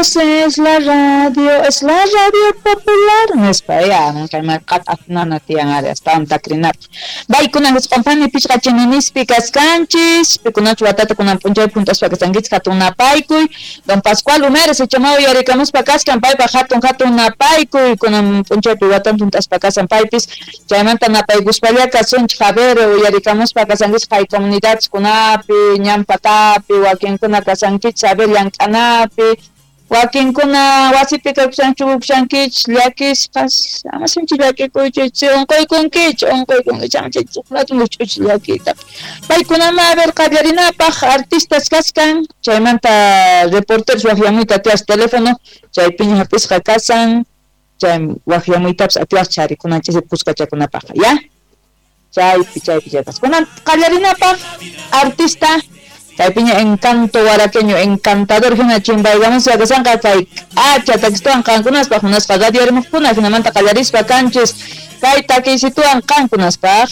Dios es la radio, es la radio popular nispa ya kay marqata tiyan ari astawan takrinapaq. Baykuna husq'anpani pichqa chininispi kaskanchis, pikunachu watata kunan p'unchaypi junt'aspa kasankichis hatun napaykuy. Don Pascual Umeres ichamaw yarikamuspa kaskan paypaq hatun hatun napaykuy kunan p'unchaypi watan junt'aspa kasan paypis chaymanta napaykuspalla kasunchik a ver uyarikamuspa kasankichis kay comunidadkunapi ñan patapi wakinkuna kasankichis a ver llank'anapi wakinkuna wasipi kawshanchukushankichis llakisqas ama sinchi llakikuychis unquykunkichis unquykunkichis ama chay llakiyta paykunama a ver qallarinapaq artistas kaskan chaymanta reporteros waqyamuyta atiwaq teléfono chaypiña hap'isqa kasan chay waqyamuytapas atiwaq charikunanchis kuskachakunapaq ya chaypi chaypi chaypas kunan qallarinapaq artista chaypiña encanto waraqueño encantador hina chimpaykamuspa kasanqa kay k'acha takistawan qankunaspaq munasqa radio rimuqkuna hinamanta qallarispa kanchis kay takiysituwan qankunaspaq.